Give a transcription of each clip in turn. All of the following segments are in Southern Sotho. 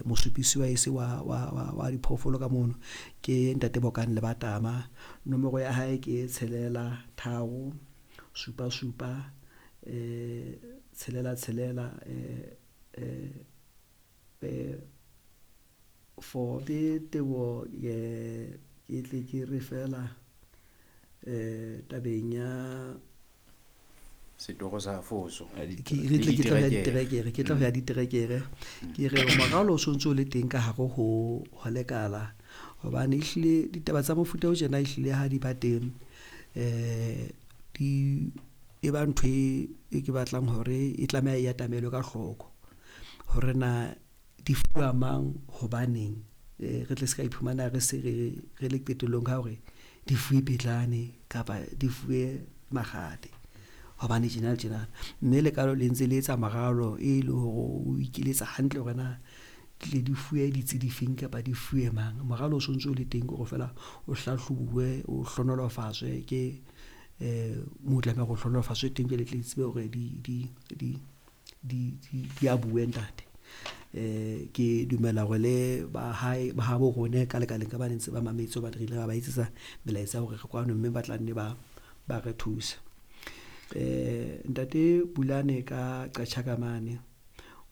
Mosupisi wa ese wa diphoofolo ka mono ke ntate Bokang Lebatama. Nomoro ya hae ke 6 3 7 7 6 6 4. Ke teboho ke tle ke re fela tabeng ya setoro sa foso. Ke re tle ke tla ya diterekere, ke tla ho ya diterekere. Ke re moralo o sontso o le teng ka hare ho lekala, hobane ehlile ditaba tsa mofuta o tjena ehlile ha di ba teng di e ba ntho e ke batlang hore e tlameha e atamelwe ka hloko hore na di fuwa mang, hobaneng. Re tle se ka iphumana re se re le qetellong ka hore di fuwe Pitlane kapa di fuwe Makgate hobane tjena le tjena. Mme lekalo le ntse le etsa moralo e le hore o ikeletsa hantle hore na tle di fuwe ditsi difeng kapa di fuwe mang. Moralo o sontso o le teng ke hore feela o hlahlobuwe, o hlohonolofatswe ke moo tlameha hore o hlohonolofatswe teng jwale tle tsebe hore di abuwe ntate. Ke dumela hore le ba hae ba habo rona ka lekaleng ka ba ne ntse ba mametse hobane re ile ra ba etsetsa melaetsa ya hore re kwano, mme ba tla nne ba re thusa. Ntate Bulane ka Qacha ka mane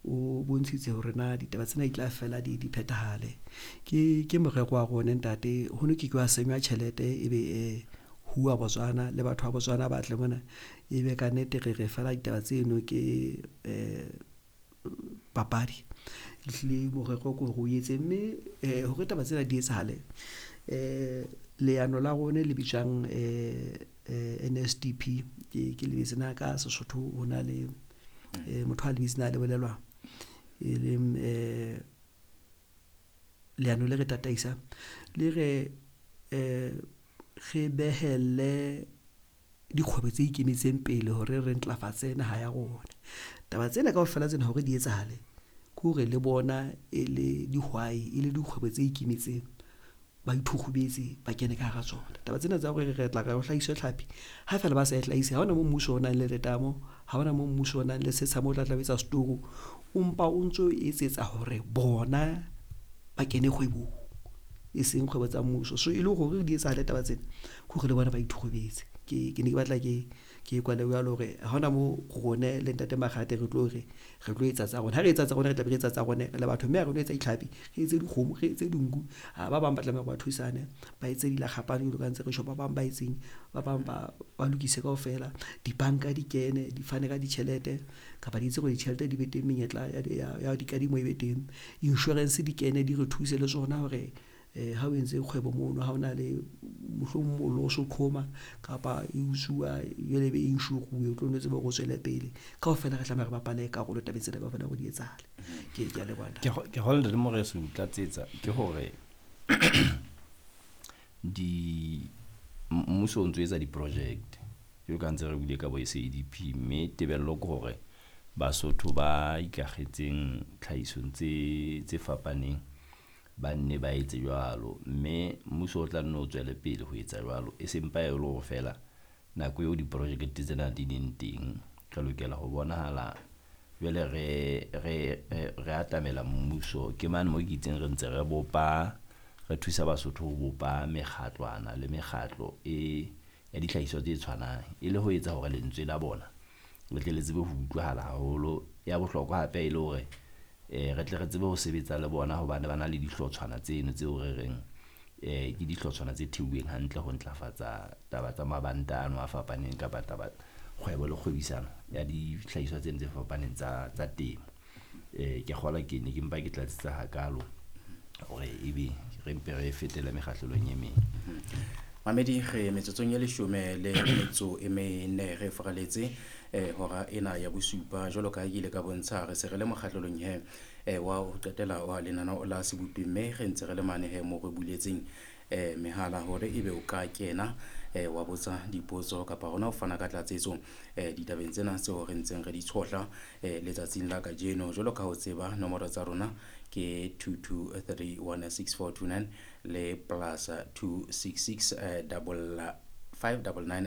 o bontshitse hore na ditaba tsena di tla fela di phethahale. Ke morero wa rona ntate, ho no ke ke wa senywa tjhelete ebe huwa Botswana le batho ba Botswana ba tle mona, ebe ka nnete re re fela ditaba tseno ke papadi. Ehlile morero ke hore o etse, mme hore taba tsena di etsahale leano la rona le bitswang NSDP ke lebetse na ka Sesotho ho na le motho a lebitso na le bolelwang e leng leano le re tataisang le re re behelle dikgwebo tse ikemetseng pele hore re ntlafatse naha ya rona. Taba tsena kaofela tsena hore di etsahale ke hore le bona e le dihwai, e le dikgwebo tse ikemetseng, ba ithukgubetse ba kene ka hara tsona. Taba tsena tsa hore re tla re ho hlahiswe tlhapi ha feela ba sa e hlahise, ha hona moo mmuso o nang le letamo, ha hona moo mmuso o nang le setsha moo o tla tla o etsa setoro, o mpa o ntso etsetsa hore bona ba kene kgwebong, e seng kgwebo tsa mmuso. So e le hore di etsahale taba tsena ke hore le bona ba ithukgubetse. Ke ne ke batla ke kwale jwalo hore ha hona moo rone le ntate Makgate re tlo re re tlo etsa tsa rona. Ha re etsa tsa rona, re tla be re etsa tsa rona re le batho, mme ha re no etsa ditlhapi, re etse dikgomo, re etse dinku. Ha ba bang ba tlameha hore ba thusane, ba etse dilakgapane jwalo ka ntse re tjho, ba bang ba etseng, ba bang ba lokise kaofela. Dibanka di kene, di fane ka ditjhelete kapa di etse hore ditjhelete di be teng, menyetla ya dikadimo e be teng. Insurance di kene di re thuse le tsona hore ha o entse kgwebo mono, ha ona le mohlomong mollo o so qhoma kapa e utsuwa jwale ebe insure-uwe, o tlo nno tsebe hore o tswele pele. Kaofela re tlameha re bapale karolo tabeng tsena kaofela hore di etsahale. Ke a leboha ntate. Ke kgolwa ntate Moreso o tlatsetsa ke hore di mmuso o ntso etsa di-project jwalo ka ntse re buile ka bo SADP, mme tebello ke hore Basotho ba ikakgetseng tlhahisong tse fapaneng ba nne ba etse jwalo. Mme mmuso o tla nne o tswele pele ho etsa jwalo, e seng pa e le hore feela nako eo diprojekt tsena di leng teng, re lokela ho bonahala jwale re atamela mmuso. Ke mane mo ke itseng re ntse re bopa, re thusa Basotho ho bopa mekgatlwana le mekgatlo e ya dihlahiswa tse tshwanang, e le ho etsa hore lentswe la bona le tle le tsebe ho utlwahala haholo. Ya bohlokwa hape e le hore re tle re tsebe ho sebetsa le bona hobane ba na le dihlotshwana tseno tseo re reng ke dihlotshwana tse theuweng hantle ho ntlafatsa taba tsa mabanta ano a fapaneng kapa taba kgwebo le kgwebisano ya dihlahiswa tseno tse fapaneng tsa temo. Ke kgolwa ke ne ke mpa ke tlatsetsa hakalo hore ebe re mpe re fetele mekgahlelong e meng. Mamedi, re metsotsong e 14 re faraletse hora ena ya bosupa. Jwalo ka ha ke ile ka bontsha, re se re le mokgahlelong he wa ho qetela wa lenaneo la sebopi, mme re ntse re le mane he mo re buletseng mehala hore ebe o ka kena wa botsa dipotso kapa hona ho fana ka tlatsetso ditabeng tsena tseo re ntseng re di tshohla letsatsing la kajeno. Jwalo ka ha o tseba, nomoro tsa rona ke 22316429 le +266 55 99.